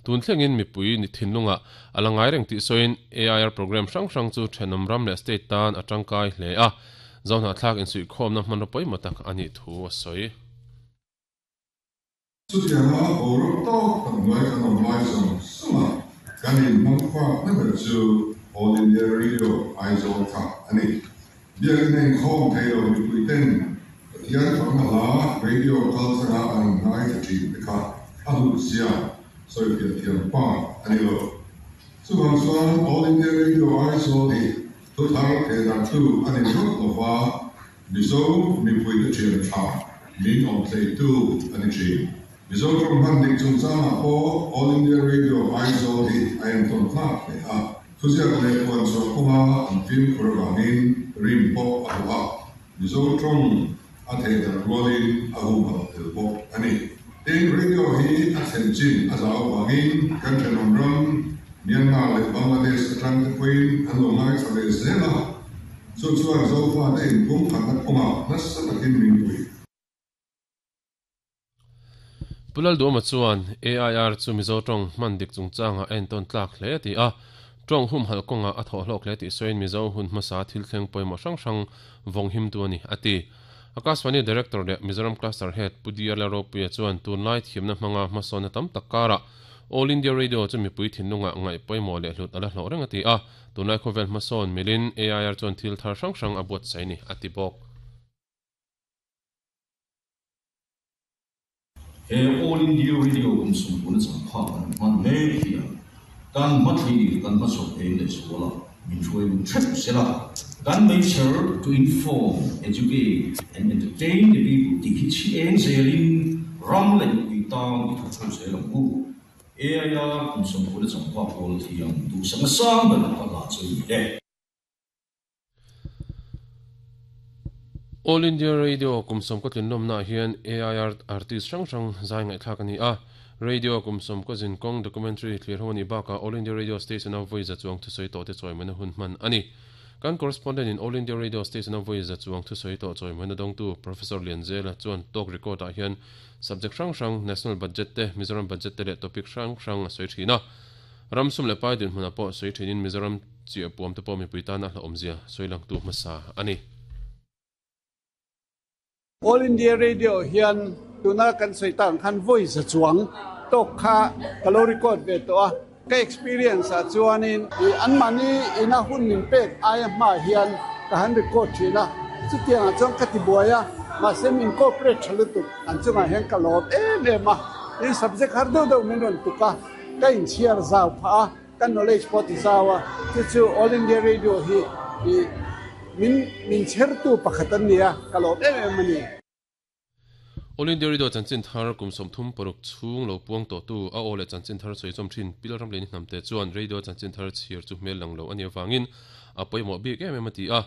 Tun thlengin mipui ni thinlungah a la ngai reng tih sawiin AIR programme hrang hrang chu thenawm ram leh state tan a tangkai hle a, Zohnahthlak insuihkhawmna hmanraw pawimawh tak a nih thu a sawi. Chutianga boruak tawk tak hnuai kan awm lai zawng zawng a, kan inhmang fak na ber chu All India Radio Aizawl kha a ni. Biakin a inkhawm thei lo mipui ten Pathian fakna hla radio kal thanga an han ngaithla thin te kha a hlut zia sawifiah thiam pa a ni lo. Chuvang chuan All India Radio Aizawl hi thu thar theh darhtu a ni ringawt lo va, Mizo mipuite thian tha min awm thleitu a ni thin. Mizo tawng hman dik chungchangah pawh All India Radio Aizawl hi a entawn tlak hle a. Thuziak leh puan chhuah kawnga an fimkhur avangin rim pawh a hlawh a, Mizo tawng a theh darh rualin a humhalh tel bawk a ni. Tin, radio hi a thlen chin a zau avangin kan thenawm ram Myanmar leh Bangladesh atang te pawhin an lo ngaithla ve zel a, chu chuan Zofate inpumkhatna kawngah nasa takin min puih. Pu Lalduama chuan AIR chu Mizo tawng hman dik chungchangah a entawn tlak hle a ti a, tawng humhalh kawngah a thawh hlawk hle tih sawiin Mizo hun hmasa thil thleng pawimawh hrang hrang vawng himtu a ni, a ti. Akashvani Director leh Mizoram Cluster Head Pu DR Lalropuia chuan tunlai thiamna hmanga hmasawnna tam tak karah All India Radio chu mipui thinlungah ngaih pawimawh leh hlut a la hlawh reng a ti a, tunlai khawvel hmasawn milin AIR chuan thil thar hrang hrang a buatsaih a ni, a ti bawk. He All India Radio kum sawmpuna changphak kan hman mek hian kan hmathlir kan hmachhawp eng leh zual a, min hruai lung hrep sela, kan meichher to inform, educate and entertain the people tih hi chhi eng zelin ram leh mipui tan i thawk ho zel ang u. AIR kum sawmpuna changphak pawl thiam duhsakna sang ber ka hla chu ni e. All India Radio kum sawmkaw tlinlawmnaah hian AIR artist hrang hrang zai ngaihthlak a ni a. Radio kum sawmkaw zinkawng documentary thlir ho a nih bakah All India Radio station-a vawi za chuang thusawi tawhte chawimawina hun hman a ni. Kan correspondent-in All India Radio station-a vawi za chuang thusawi tawh chawimawina dawngtu Professor Lianzela chuan talk record-ah hian subject hrang hrang National Budget te, Mizoram Budget te leh topic hrang hrang a sawi thin a. Ram sum leh pai dinhmunah pawh sawi thinin Mizoram chiah puam te pawh mipui tana hlauhawmzia sawi langtu hmasa a ni. All India Radio hian tuna kan sawi tak ang khan vawi za chuang tawk kha ka lo record ve tawh a. Ka experience ah chuanin anmahni ina hun min pek aia hmaah hian ka han record thin a, chutiangah chuan ka tibuai a, mahse min cooperate tha lutuk an chungah hian ka lawm em em a, tin subject har deuh deuh min rawn tuk a. Ka inchhiar zau phah a, ka knowledge pawh ti zau a, chu chu All India Radio hi i min min chhertu pakhat an ni a, ka lawm em em a ni. All India Radio chanchin thar kum 36 chhung lo puang tawhtu a aw leh chanchin thar sawi chawm thin Pil Ramleni Hnamte chuan Radio chanchin thar chhiar chu hmel lang lo a nih avangin a pawimawh bik em em a ti a,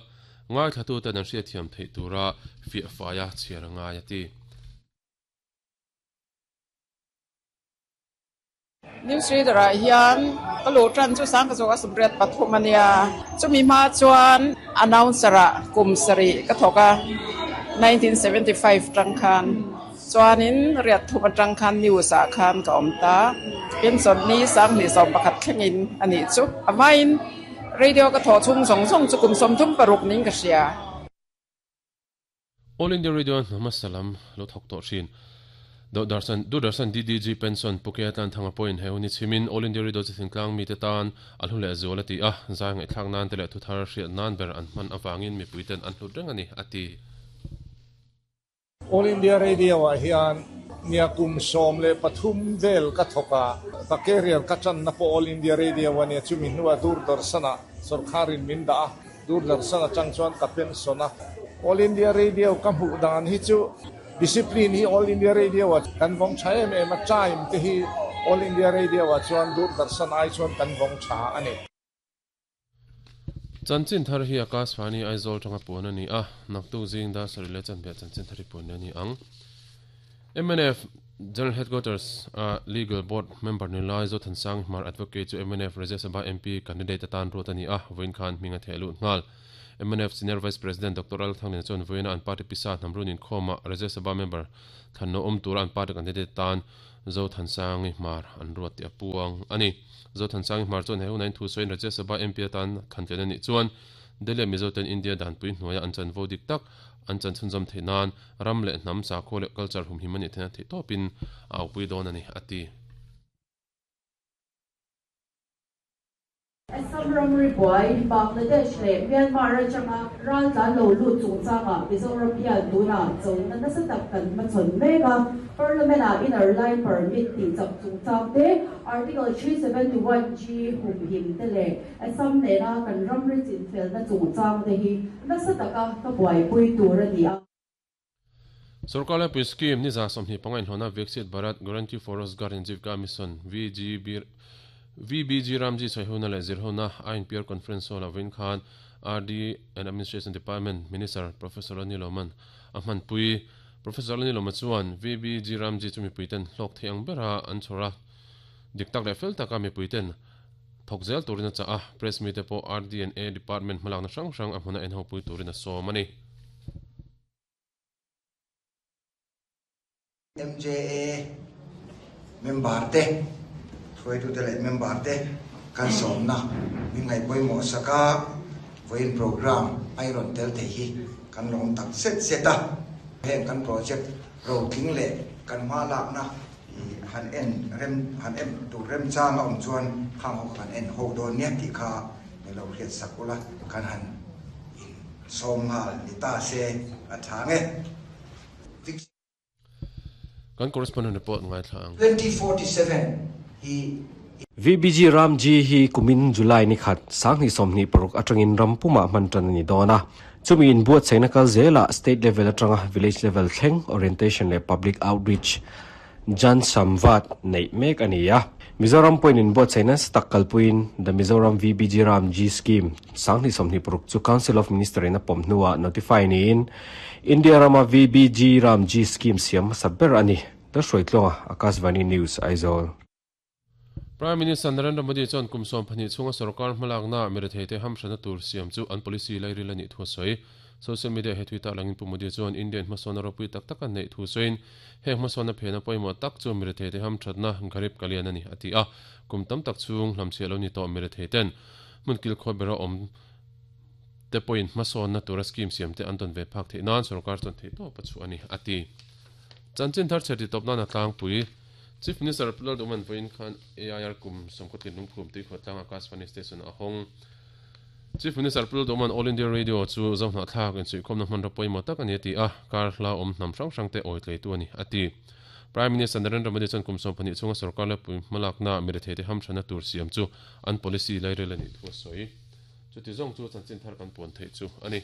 ngaithlatuten an hriatthiam theih tura fiah faia chhiar a ngai a ti. News reader ah hian ka luh tan chu sangka zawk a 83 a nia. Chumi hma chuan announcer ah kum sarih ka thawk a, 1975 tang khan. Chuanin riat thum atang khan news ah khan ka awm ta. Pension ni 2011 thlengin a nih chu. A hmain radio ka thawh chhung zawng zawng chu kum 36 niin ka hria. All India Radio hna hmasa lam lo thawk tawh thin. Doordarshan Doordarshan DDG Pension Pu Kea Tlanthanga pawhin he hun hi chhimin All India Radio chu thingtlang mite tan a hlu leh zual a ti a, zai ngaihthlak nan te leh thuthar hriat nan ber an hman avangin mipui ten an hlut reng a ni, a ti. All India Radio ah hian nia kum 13 vel ka thawk a, ka career ka tanna pawh All India Radio a nia, chumi hnuah Doordarshan ah sawrkharin min dah a, Doordarshan atang chuan ka pension a. All India Radio ka hmuh dan hi chu discipline hi All India Radio ah kan vawng tha em em a, time te hi All India Radio ah chuan Doordarshan ai chuan kan vawng tha a ni. Chanchin thar hi Akashvani Aizawl tanga puan a ni a, naktuk zing dar sarih leh chanve ah chanchin thar hi puan leh a ni ang. Mnf General Headquarters a Legal Board member ni lai Zothansang Hmar Advocate chu mnf Rajya Sabha MP candidate atan ruat a ni a, vawiin khan hming a theh lut nghal. Mnf Senior Vice President Doctor Lal Thangliana chuan vawiina an party pisa hnamrun inkhawmah Rajya Sabha member thlanna awm tura an party candidate atan Zothansangi Hmar an ruat tih a puang a ni. Zothansangi Hmar chuan he hunah in thu sawiin Rajya Sabha MP atan thlan tlen a nih chuan Delhi-a Mizoten India danpui hnuaia an chanvo dik tak an chan chhunzawm theih nan ram leh hnam, sakhua leh culture humhim a nih theihna theihtawpin a aupui dawn a ni, a ti. Assam ramri buai, Bangladesh leh Myanmar atanga raltlan lo lut chungchangah Mizoram hian tunah chona nasa tak kan hmachhawn mek a. Parliament-ah Inner Line Permit tihchak chungchang te, Article 371 G humhim te leh Assam nena kan ramri chinfelna chungchang te hi nasa taka ka buaipui tur a ni a. Sorkar laipui scheme ni 25 inhlawhna Viksit Bharat Guarantee for Rozgar and Jeevika Mission, VGB, VBG Ramji sawihona leh zirhona INPR Conference Hall-ah vawiin khan RD and Administration Department Minister Professor Lani Lawman a hmanpui. Professor Lani Lawma chuan VBG Ramji chu mipuiten hlawk thei ang bera an chhawr a, dik tak leh fel taka mipuiten thawk zel turin a chah a, press mite pawh RD and A Department hmalakna hrang hrang a hmuna enhopui turin a sawm a ni. MJA member te, hruaitute leh member te kan sawmna min ngaih pawimawh sak a, vawiin program a i rawn tel thei hi kan lawm tak zet zet a. Heng kan project rotling leh kan hma lakna han en rem han en tur remchang a awm chuan khang ho kha kan en ho dawn nia tih kha min lo hriat sak ula kan han in Sawm nghal ni ta se a tha nge. Kan correspondent report ngaithla ang. 2047 hi VBG Ramji hi kumin July ni khat 2026 atangin ram pumah hman tan a ni dawn a. Chumi inbuatsaihna kal zelah state level atanga village level thleng orientation leh public outreach Jan Samvad neih mek a ni a. Mizoram pawhin inbuatsaih nasa tak kalpuiin The Mizoram VBG Ramji Scheme 2026 chu Council of Minister in a pawm hnuah notify niin India rama VBG Ramji Scheme siam hmasa ber a ni. Lalhruaitluanga, Akashvani News, Aizawl. Prime Minister Narendra Modi chuan kum 12 chhunga sorkar hmalakna miretheite hamhrana tur siam chu an policy lairil a nih thu a sawi. Social media he thui tak langin Pu Modi chuan Indian hmasawnna ropui tak tak a neih thu sawiin heng hmasawnna phena pawimawh tak chu miretheite hamthatna Garib Kalyan a ni a ti a. Kum tam tak chhung hlamchhiah lo ni tawh miretheiten hmun kilkhaw bera awm te pawhin hmasawnna tura scheme siam te an tawn ve phak theih nan sorkar chuan theihtawp a chhuah a ni a ti. Chanchin thar chhe titawp nan a tlangpui. Chief Minister Pu Lalduhman vawiin khan AIR kum sawmkhaw lungphum tuikhuah tlang Akashvani Station a hawng. Chief Minister Pu Lalduhman All India Radio chu Zohnahthlak insuihkhawmna hmanraw pawimawh tak a ni a ti a, kar hla awm hnam hrang hrangte awi tleitu a ni a ti. Prime Minister Narendra Modi chuan kum 12 chhunga sorkar lepui hmalakna miretheite hamthanna tur siam chu an policy lairel a nih thu a sawi. Chuti zawng chu chanchin thar kan puan theih chu a ni.